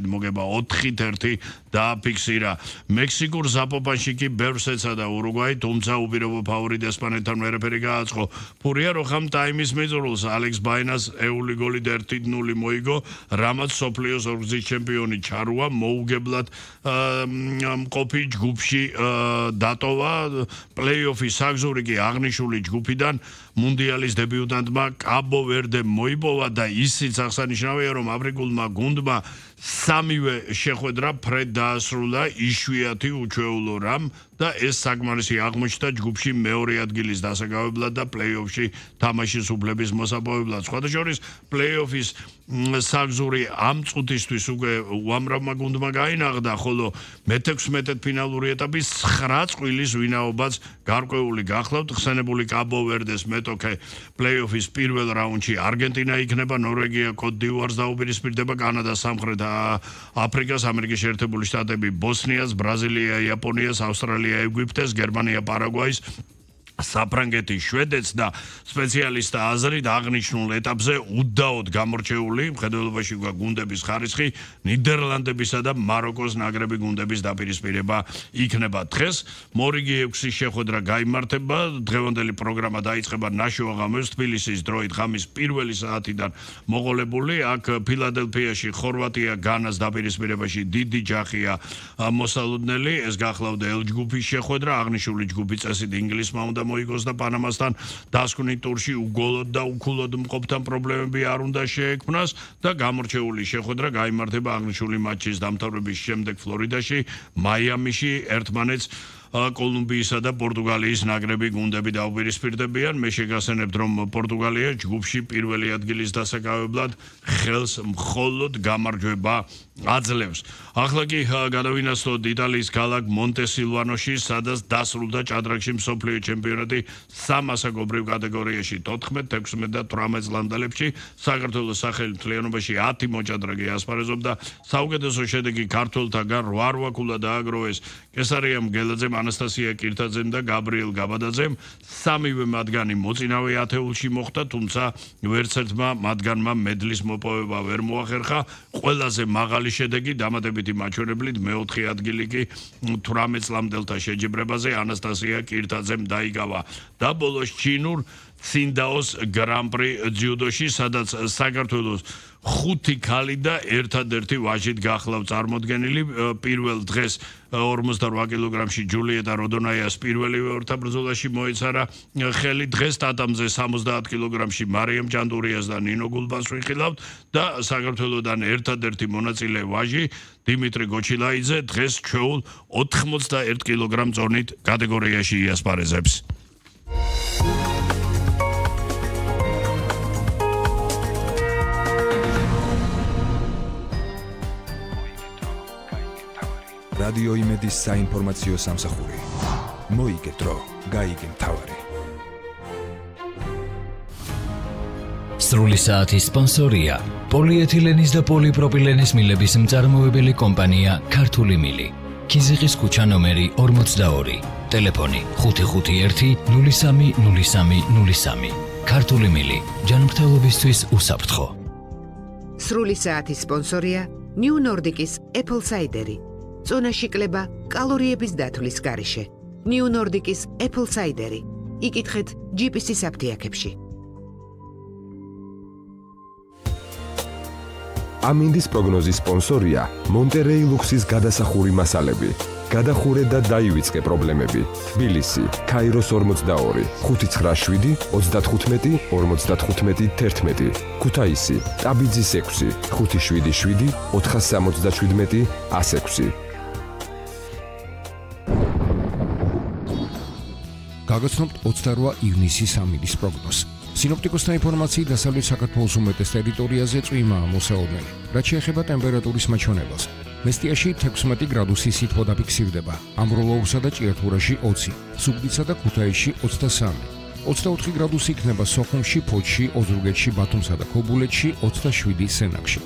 მოგება 4-1 დააფიქსირა. მექსიკურ ზაპოპანში კი ბევრს ეცადა ურუგვაი, თუმცა უპირობო ფავორიტ ესპანეთთან ვერაფერი გააწყო. ფურია როხამ ტაიმის მიწურულს ალექს ბაინას ეული გოლი და 1-0 მოიგო, რამაც სოფლიოს ორგზის ჩემპიონი ჩარუა მოუგებლად მყოფი ჯგუფში დატოვა. პლეი-ოფის საგზური კი აღნიშნული ჯგუფიდან მუნდიალის დებიუტანტმა კაბო ვერდემ მოიპოვა და ისიც აღსანიშნავია, რომ აფრიკულმა გუნდმა სამივე შეხვედრა ფრედ დაასრულა იშვიათი უჩვეულო რამ და ეს საკმარისი აღმოჩნდა ჯგუფში მეორე ადგილის დასაკავებლად და პლეი-ოფში თამაშის უფლების მოსაპოვებლად. სხვადასხვა პლეი-ოფის საგზური ამ წუთისთვის უკვე უამრავმა გუნდმა გაინაღდა, ხოლო მე-16 ფინალური ეტაპის 9 წყვილის ვინაობაც გარკვეული გახლავთ. ხსენებული კაბო ვერდეს მეტოქე პლეი-ოფის პირველ რაუნდში არგენტინა იქნება, ნორვეგია კოტ-დივუარს დაუპირისპირდება, კანადა სამხრეთ აფრიკას, ამერიკის შეერთებული შტატები ბოსნიას, ბრაზილია იაპონიას, ავსტრალია ეგვიპტეს, გერმანია პარაგვაის, საფრანგეთი შვედეთს და სპეციალისტთა აზრით აღნიშნულ ეტაპზე უდაოდ გამორჩეული მხედველობაში გუნდების ხარისხი ნიდერლანდებისა და მაროკოს ნაკრები გუნდების დაპირისპირება იქნება. დღეს მორიგი 6 შეხვედრა გაიმართება. დღევანდელი პროგრამა დაიწყება ნაშუა ღამეს თბილისის დროით ღამის 1 საათიდან მოყოლებული. აქ ფილადელფიაში ხორვატია განას დაპირისპირებაში დიდი ჯახია მოსალოდნელი. ეს გახლავდა L ჯგუფის შეხვედრა. აღნიშნული ჯგუფი წესით ინგლისმა უნდა მოიგოს და პანამასთან დასკვნით ტურში უგოლოდ და უქულოდ მყოფთან პრობლემები არ უნდა შეექმნას და გამორჩეული შეხვედრა გაიმართება აღნიშნული მატჩის დამთავრების შემდეგ ფლორიდაში, მაიამიში ერთმანეთს კოლუმბიისა და პორტუგალიის ნაკრები გუნდები დაუპირისპირდებიან. მე შეგახსენებთ, რომ პორტუგალია ჯგუფში პირველი ადგილის დასაკავებლად ხელს მხოლოდ გამარჯვება აძლევს. ახლა კი გადავინაცვლოთ იტალიის ქალაქ მონტესილვანოში, სადაც დასრულდა ჭადრაკში მსოფლიო ჩემპიონატი 3 ასაკობრივ კატეგორიაში 14, 16 და 18 წლამდელებში. საქართველოს სახელი მთლიანობაში 10 მოჭადრაკე ასპარეზობდა. საუკეთესო შედეგი ქართველთაგან 8 ქულა დააგროვეს კესარიამ გელაძემ, ანასტასია კირთაძემ და გაბრიელ გაბადაძემ. სამივე მათგანი მოწინავე ათეულში მოხვდა, თუმცა ვერცერთმა მათგანმა მედლის მოპოვება ვერ მოახერხა. ყველაზე მაღალი შედეგი დამატებითი მაჩვენებლით მე-4 ადგილი კი 18 წლამდელთა შეჯიბრებაზე ანასტასია კირთაძემ დაიკავა და ბოლოს ჩინურ ცინდაოს გრან-პრი ძიუდოში, სადაც საქართველოს 5 ქალი და ერთადერთი ვაჟით გახლავთ წარმოდგენილი. პირველ დღეს 48 კილოგრამში ჯულიეტა როდონაიას პირველივე ორთაბრძოლაში მოეცარა ხელი. დღეს ტატამზე 70 კილოგრამში მარიამ ჯანდურიას და ნინო გულბანს ვიხილავთ და საქართველოსდან ერთადერთი მონაწილე ვაჟი დიმიტრი გოჩილაიძე დღეს ჩვეულ 81 კილოგრამ წონით კატეგორიაში იასპარეზებს. რადიო იმედის საინფორმაციო სამსახური. მოიგე დრო, გაიგე მთავარი. სრული საათის სპონსორია პოლიეთილენის და პოლიპროპილენის მილების მწარმოებელი კომპანია ქართული მილი. ქიზიყის ქუჩა ნომერი 42. ტელეფონი 551 03 03 03. ქართული მილი. ჯანმრთელობისთვის უსაფრთხო. სრული საათის სპონსორია New Nordic-ის Apple Cider. წონაში კლება კალორიების დათვლის გარეშე. New Nordic-ის Apple Cider. იკითხეთ GPS-ის აფთიაქებში. ამინდის პროგნოზის სპონსორია მონტერეი ლუქსის გადასახური მასალები. გადახურე და დაივიწყე პრობლემები. თბილისი, ქაიროს 42, 597, 35, 55, 11. ქუთაისი, ტაბიძის 6, 577, 477, 106. გაგაცნობთ 28 ივნისის ამინდის პროგნოზს. სინოპტიკოსთა ინფორმაციით დასავლეთ საქართველოს უმეტეს ტერიტორიაზე წვიმაა მოსაოდნელი. რაც შეეხება ტემპერატურის მაჩვენებელს, მესტიაში 16 გრადუსი სითბო დაფიქსირდება, ამროლოურსა და ჭიათურაში 20, სუგდიცსა და ქუთაისში 23, 24 გრადუსი იქნება სოხუმში, ფოთში, ოზურგეთში, ბათუმსა და ქობულეთში, 27 სენაკში.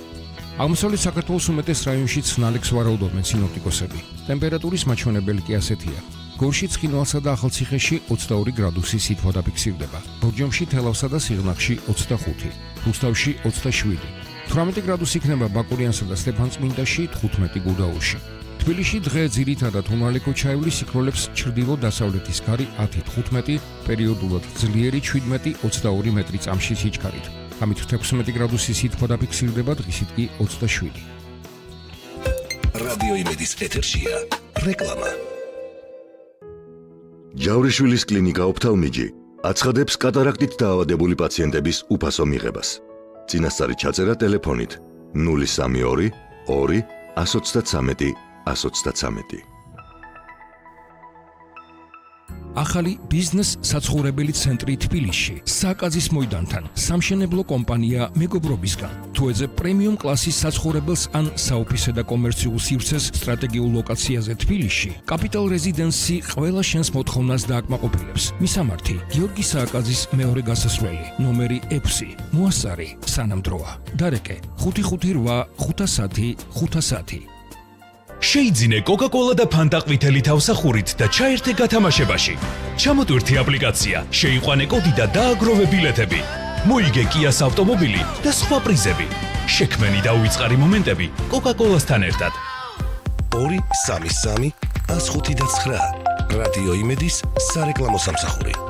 აღმოსავლეთ საქართველოს უმეტეს რაიონშიც ნალექს ვარაუდობენ სინოპტიკოსები. ტემპერატურის მაჩვენებელი კი ასეთია. გორში, ცხინვალსა და ახალციხეში 22 გრადუსი სითბო დაფიქსირდება, ბორჯომში, თელავსა და სიღნაღში 25, რუსთავში 27, 18 გრადუსი იქნება ბაკურიანსა და სტეფანწმინდაში, 15 გუდაურში. თბილისში დღე ძირითადად უნალიკო ჩაივლის სიქროლებს ჩრდილო-დასავლეთის გარი 10-15, პერიოდულად ძლიერი 17-22 მეტრი წამში სიჩქარით. ამით 16 გრადუსი სითბო დაფიქსირდება, დღისით კი 27. რადიო იმედის ეთერშია რეკლამა. ჯავრიშვილის კლინიკა ოფთალმიჯი აცხადებს კატარაქტით დაავადებული პაციენტების უფასო მიღებას. წინასწარი ჩაწერა ტელეფონით 032 2 133 133. ახალი ბიზნეს საცხოვრებელი ცენტრი თბილისში, სააკაძის მოედანთან, სამშენებლო კომპანია მეგობრობისგან. თუ ეძებ პრემიუმ კლასის საცხოვრებელს ან საოფისე და კომერციულ სივრცეს სტრატეგიულ ლოკაციაზე თბილისში, კაპიტალ რეზიდენსი ყველა შენს მოთხოვნას დააკმაყოფილებს. მისამართი: გიორგი სააკაძის მეორე გასასვლელი, ნომერი 6, მოასწარი, სანამდროა. დარეკე: 558 510 510. შეიძინე კოკა-კოლა და ფანტა ყვითელი თავსახურით და ჩაერთე გათამაშებაში. ჩამოტვირთი აპლიკაცია, შეიყვანე კოდი და დააგროვე ბილეთები. მოიგე კიას ავტომობილი და სხვა პრიზები. შექმენი და უიწყარი მომენტები კოკა-კოლასთან ერთად. 233 105 და 9. რადიო იმედის სარეკლამო სამსახური.